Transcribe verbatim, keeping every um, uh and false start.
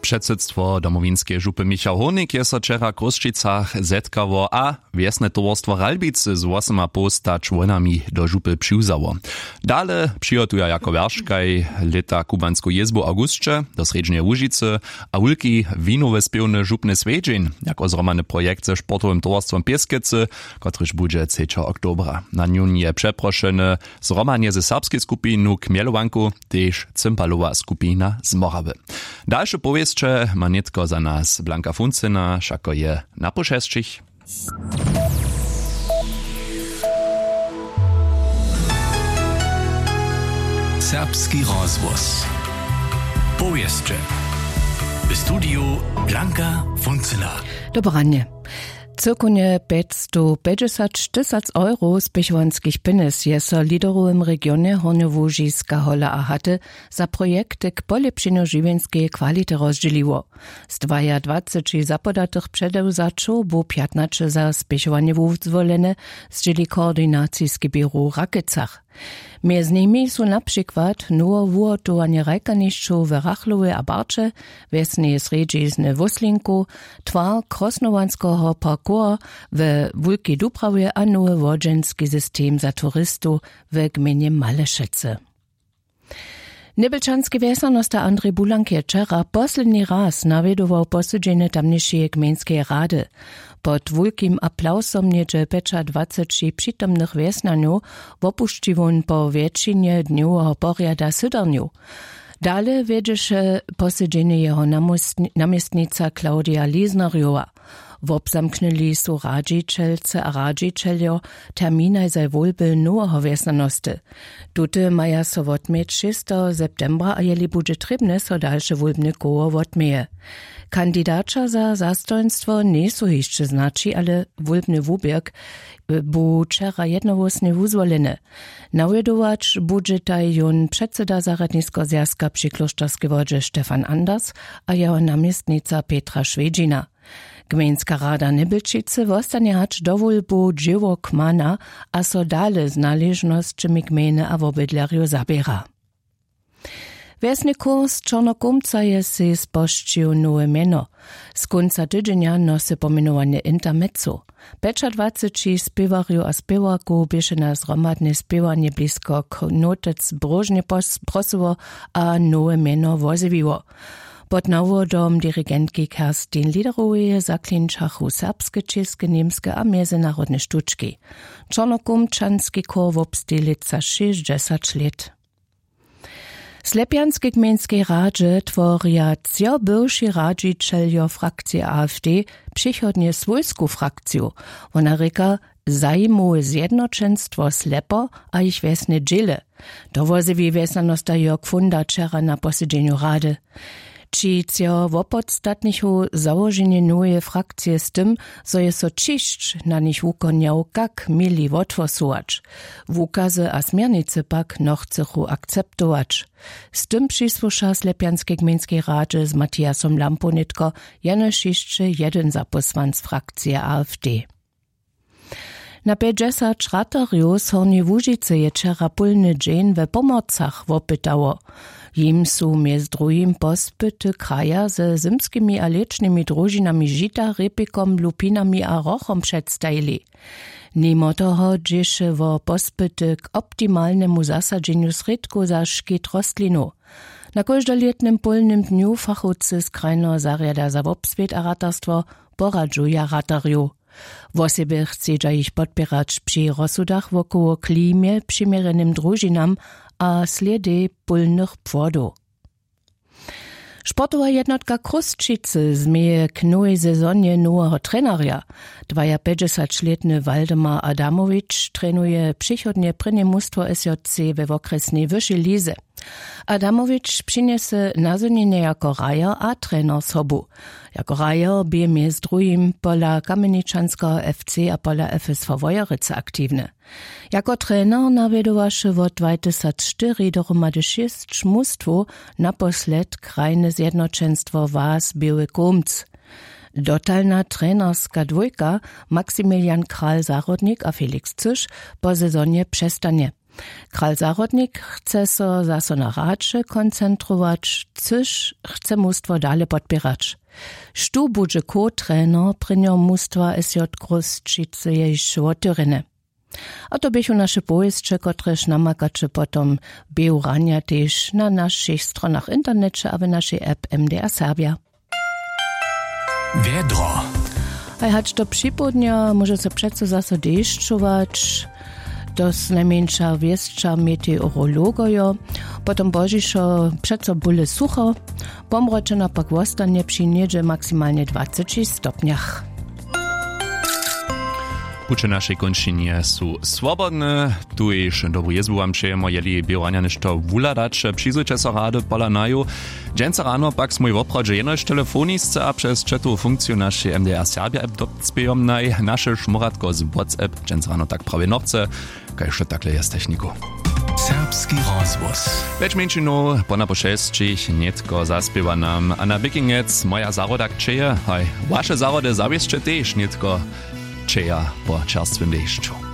Předsydstwo domowinskeje župy Michał Hórnik je so wčera w Chrósćicach zetkało a wjesne towarstwo Ralbicy z wosymapołsta čłonami do župy přiwzało. Dale přihotuja jako wjerškaj lěta kubansku jězbu w awgusće do srjedźneje Łužicy a wulki winowy spěwny župny swjedźeń jako zhromadny projekt ze sportowym towarstwom Pěskecy, kotryž budźe třećeho oktobra. Na njón je přeprošeny zhromadnje ze serbskej skupinu Kmjelowanku tež cympalowa skupina z Morawy. Dalše powěsće ma nětko za nas Blanka Funcyna, wšako je na pół šesćich. Serbski rozhłos. Powěsće. W studiju Blanka Funcyna. Dobranje. Cyłkownje pjećstowpjećdźesat tysac euro spěchowanskich pjenjez je so w liderowym regionje Hornjołužiska, Hola a Haty za projekty k polěpšenju žiwjenskeje kwality rozdźěliło. Z dwajadwaceći zapodatych předewzaćow bu pjatnaće za spěchowanje wuzwolene, zdźěli koordinaciski běru w Rakecach. Mjez nimi su na přikład nowe wuhotowanje hrajkanišćow w Rachlowje a Barće, wjesneje srjedźizny Wóslinkow, twar Krosnowanskeho parkoura we Wulkej Dubrawje a nowy wodźenski system za turistow w gmejnje Malešecy. Njebelčanski wjesnjanosta Andrej Bulank je wčera posledni raz nawjedował posydźenje tamnišeje gmejnskeje rady. Pod wulkim aplawsom něhdźe pjećadwaceći přitomnych wjesnjanjow wopušći wón po wjetšinje dnjoweho porjada sydarnjow. Dale wjedźeše posydźenje jeho namóstni- namjestnica Claudia Liesnerjowa. Wobzamknyli su radźićelce a radźićeljo terminaj za wólby noweho wjesnjanosty. Tute maja so wotměć šesteho septembra a jeli budźe trěbne, so dalše wólbne koło wotměje. Kandidaća za zastojnstwo njejsu hišće znaći, ale wólbny wuběrk bu wčera jednohłósnje wuzwoleny. Nawjedować budźetaj jón předsyda zarjadniskeho zwjazka při klóšterskej wodźe Stefan Anders a jeho namjestnica Petra Šwjedźina. Gmejnska rada Njebelčicy wostanje hač do wólbow dźěło kmana a so dale z naležnosćemi gmejny a wobydlerjow zaběra. Wjesny kurs Čornokołmca je sej spožčił nowe mjeno. Z kónca tydźenja nosy pomjenowanje Intermezzo. Pjećadwaceći spěwarjow a spěwarkow běše na zhromadne spěwanje blisko knotec bróžnje pos- prosyło a nowe mjeno wozjewiło. Pod nawodom dirigentki Kerstin Liederoweje zaklinčachu serbske, česke, němske a mjezynarodne štučki. Čornokołmčanski chór wobsteji lětsa šěsćdźesać lět. W Slepjanskej gmejnskej radźe tworja třo bywši radźićeljo frakcije AfD přichodnje swójsku frakciju. Wona rěka: Zajimowe zjednoćenstwo Slepo a jich wjesne dźěle. To wozjewi wjesnjanosta Jörg Funda wčera na posedźenju rady. Ći třo wopodstatnichu załoženje noweje frakcije z tym, zo je so ćišć na nich wukonjał, kak měli wothłosować. Wukazy a směrnicy pak nochcychu akceptować. Z tym přisłuša w Slepjanskej gmejnskej radźe z Matiasom Lampow nětko jenož hišće jedyn zapósłanc frakcije AfD. Na pjećdźesat ratarjow z Hornjeje Łužicy je wčera pólny dźeń we Pomorcach wopytało. Jim su mjez druhim pospyty kraja ze zymskimi a lěćnymi družinami žita, rěpikom, lupinami a hrochom předstajili. Nimo toho dźěše wo pospyty k optimalnemu zasadźenju srědkow za škit rostlinow. Na kóždolětnym pólnym dnju fachowcy z krajneho zarjada za wobswět a ratarstwo poradźuja ratarjow. Wosebje chcedźa jich podpěrać při rozsudach wokoło klimje, přiměrjenym družinam a slědej pólnych płodow. Sportowa jednotka Chrósćicy změje k nowej sezonje noweho trenarja. Dwajapjećdźesaćlětny Waldemar Adamowitsch trenuje přichodnje prěnje mustwo S J C we wokrjesnej wyšej lize. Adamowitsch přinjese nazhonjenje jako hrajer a trener sobu. Jako hrajer bě mjez druhim pola Kamjeničanskeho F C a pola F S V Wojerecy aktiwny. Jako trener nawjedowaše wot dwajtysacštyri dohromady šěsć mustwow, naposled krajne zjednoćenstwo Was Běły Kómc. Dotalna trenerska dwójka, Maximilian Kral-Zahrodnik a Felix Cyš, po sezonje přestanje. Kral zahrodnik chce so zaso na hraće koncentrować, cyž chce mustwo dale podpěrać. Štó budźe co trener prěnjeho mustwa sj krusćicy je hišće wotewrjene. A to běchu naše powěsće kotrež namakaće potom běhu ranja tež na našich stronach w interneće a w našej app mdr serbja. Wjedro. Haj hač do připołdnja móže so přeco zaso dešćować. To znajmjeńša wěsća meteorologojo. Potom božišo přeco bóle sucho. Pomročena pak wostanje při něhdźe maksimalnje dwaceći stopnjach. Puće w našej kónčinje su swobodne. Tuž dobru jězbu wam přejemo, jeli běhu ranja něšto wuhladaće, přizwójće so rady pola naju. Dźensa rano pak smój woprawdźe jenož telefonisce a přez četowu funkciju našej mdr serbja app dopspějom naj naše šmóratko z whatsapp dźensa rano tak prawje nobce. Kaž to takle je z techniku. Serbski rozhłos. Pjeć mjeńšinow po napo šesćich nětko zaspěwa nam a na bikingec moja zahroda kćeje haj. Waše zahrody zawěsće tež nětko kćeja po čerstwym dešću.